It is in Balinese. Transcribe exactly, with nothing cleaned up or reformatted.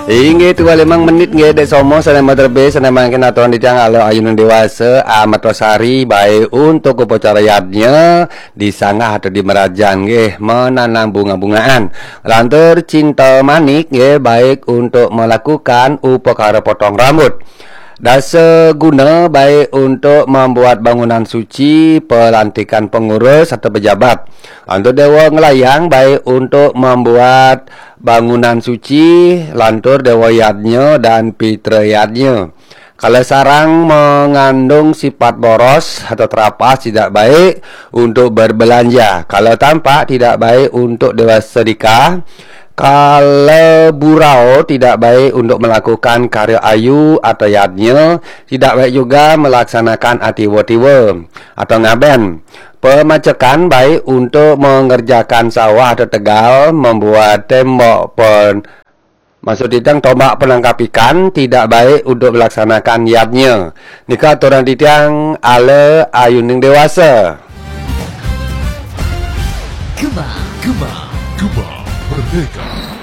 Inggih, dua limang menit nggih, Dek Somo, sané materbe, sané mangkin aturan titiang ala ayuning dewasa, ametra sari, baik untuk upacara yadnya, di sanggah atau di merajan nggih, menanam bunga-bungaan. Lantur cinta manik nggih, baik untuk melakukan upakara potong rambut. Dasa guna baik untuk membuat bangunan suci, pelantikan pengurus atau pejabat. Lantur dewa ngelayang baik untuk membuat bangunan suci, lantur dewa yadnya dan pitra yadnya. Kalau sarang mengandung sifat boros atau terapas, tidak baik untuk berbelanja. Kalau tampak, tidak baik untuk dewa sedekah. Kalau burau, tidak baik untuk melakukan karya ayu atau yadnya, tidak baik juga melaksanakan atiwa-tiwa atau ngaben. Pemacekan baik untuk mengerjakan sawah atau tegal, membuat tembok pen maksud titiang tombak penangkap ikan, tidak baik untuk melaksanakan yadnya. Nika aturan titiang ala ayuning dewasa. Gema, gema, gema, merdeka.